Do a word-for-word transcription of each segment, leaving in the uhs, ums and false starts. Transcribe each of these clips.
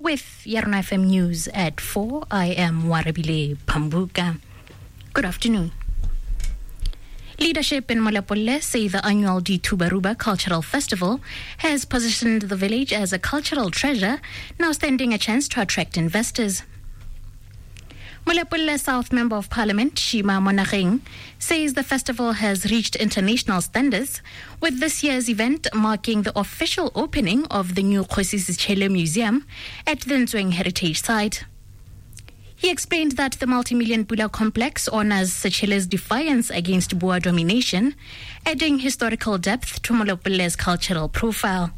With Yarona F M News at four, I am Warabile Pambuka. Good afternoon. Leadership in Molepolole say the annual Dithubaruba Cultural Festival has positioned the village as a cultural treasure, now standing a chance to attract investors. Molepolole South Member of Parliament Shima Monageng says the festival has reached international standards, with this year's event marking the official opening of the new Kgosi Sechele Museum at the Ntsweng Heritage Site. He explained that the multi-million Pula complex honors Sechele's defiance against Boer domination, adding historical depth to Molepolle's cultural profile.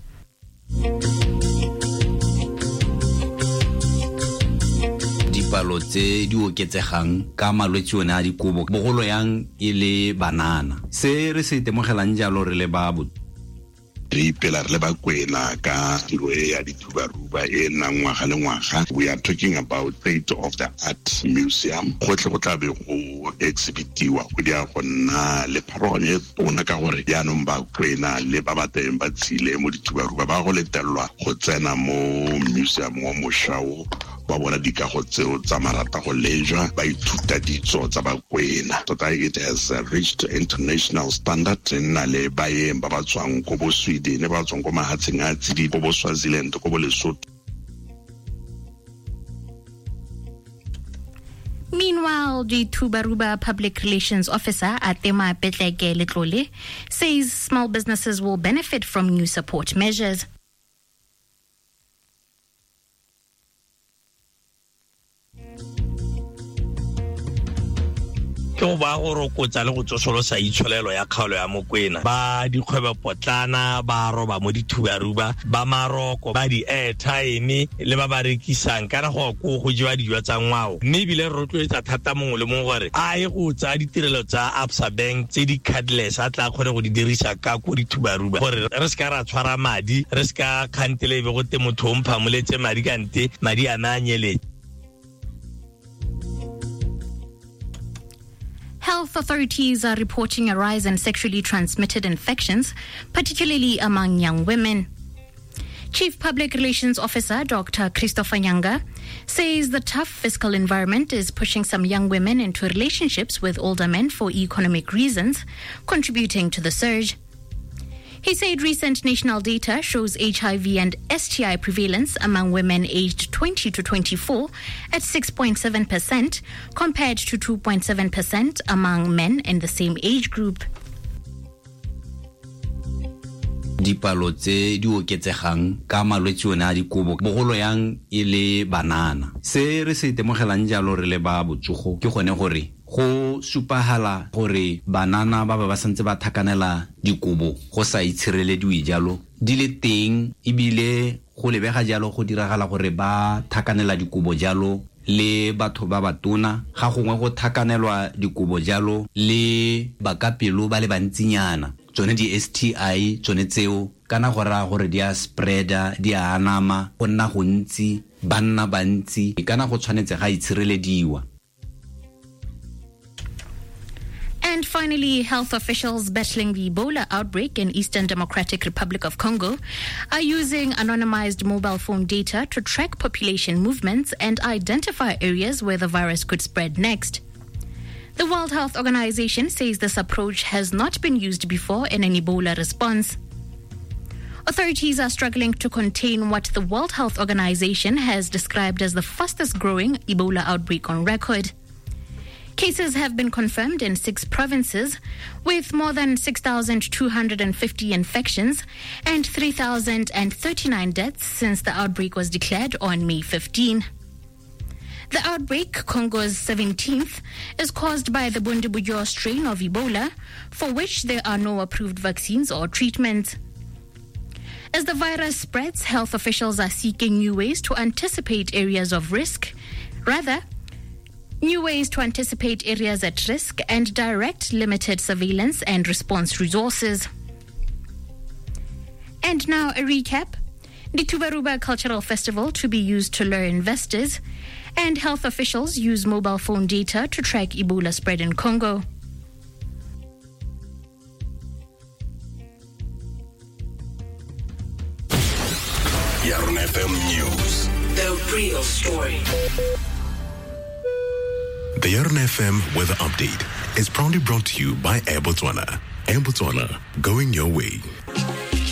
Dipalo tse di oketsegang ka malwetse one a dikobo bogolo yang e le banana se re se itemogelang jalo re le ba re ipela re le Bakwena ka tiro e ya Dithubaruba e nnang ngwaga le ngwaga. We are talking about state of the art museum. Gotlhe go tla be go exhibitiwa go dia go nna le pharologano e tona ka gore jaanong Bakwena le ba ba teng ba tshile mo Dithubaruba ba go letelelwa go tsena mo museum wa mošwa ba bona dikago tseo tsa marata go lejwa ba ithuta ditso tsa Bakwena. Tota it has reached international standard. Nna le baeng ba ba tswang ko bo Sweden, ba tswang ko mahatsheng a tsididi, ko bo Swaziland, ko bo Lesotho. Meanwhile, the Dithubaruba Public Relations Officer Atema Petleke Letlole says small businesses will benefit from new support measures. Ke go ba go rokotsa le go tsosolosa itsholelo ya kgaolo ya Mokwena ba dikgwebo potlana ba roba mo Dithubaruba ba maroko ba di airtime le ba ba rekisang kana go go go jewa dijo tsa ngwao mme ebile re rotloetsa thata mongwe le mongwe gore a ye go tsaya ditirelo tsa Absa Bank tse di cardless a tla kgone go di dirisa ka ko Dithubaruba gore re se ka ra tshwara madi re se ka kgantele e be go te motho o mphamoletse madi kante madi a me a nyeletse. Health authorities are reporting a rise in sexually transmitted infections, particularly among young women. Chief Public Relations Officer Doctor Christopher Nyanga says the tough fiscal environment is pushing some young women into relationships with older men for economic reasons, contributing to the surge. He said recent national data shows H I V and S T I prevalence among women aged twenty to twenty-four at six point seven percent compared to two point seven percent among men in the same age group. Dipalo tse di oketsegang ka malwetse one a dikobo bogolo yang e le banana se re se itemogelang jalo re le ba botsogo ke gone gore go supahala gore banana ba ba ba santse ba thakanela dikobo go sa itshirelediwe jalo di le teng ebile go lebega jalo go diragala gore ba thakanela dikobo jalo le batho ba batona ga gongwe go thakanelwa dikobo jalo le bakapelo ba le bantsinyana tsone di S T I tsone tseo kana go raya gore di a spreada di a anama go nna gontsi banna bantsi kana go tshwanetse ga itshirelediwa. And finally, health officials battling the Ebola outbreak in Eastern Democratic Republic of Congo are using anonymized mobile phone data to track population movements and identify areas where the virus could spread next. The World Health Organization says this approach has not been used before in an Ebola response. Authorities are struggling to contain what the World Health Organization has described as the fastest growing Ebola outbreak on record. Cases have been confirmed in six provinces, with more than six thousand two hundred fifty infections and three thousand thirty-nine deaths since the outbreak was declared on May fifteenth. The outbreak, Congo's seventeenth, is caused by the Bundibugyo strain of Ebola, for which there are no approved vaccines or treatments. As the virus spreads, health officials are seeking new ways to anticipate areas of risk. Rather, new ways to anticipate areas at risk and direct limited surveillance and response resources. And now a recap. The Dithubaruba Cultural Festival to be used to lure investors, and health officials use mobile phone data to track Ebola spread in Congo. Yarona F M News. The real story. The Yarona F M weather update is proudly brought to you by Air Botswana. Air Botswana, going your way.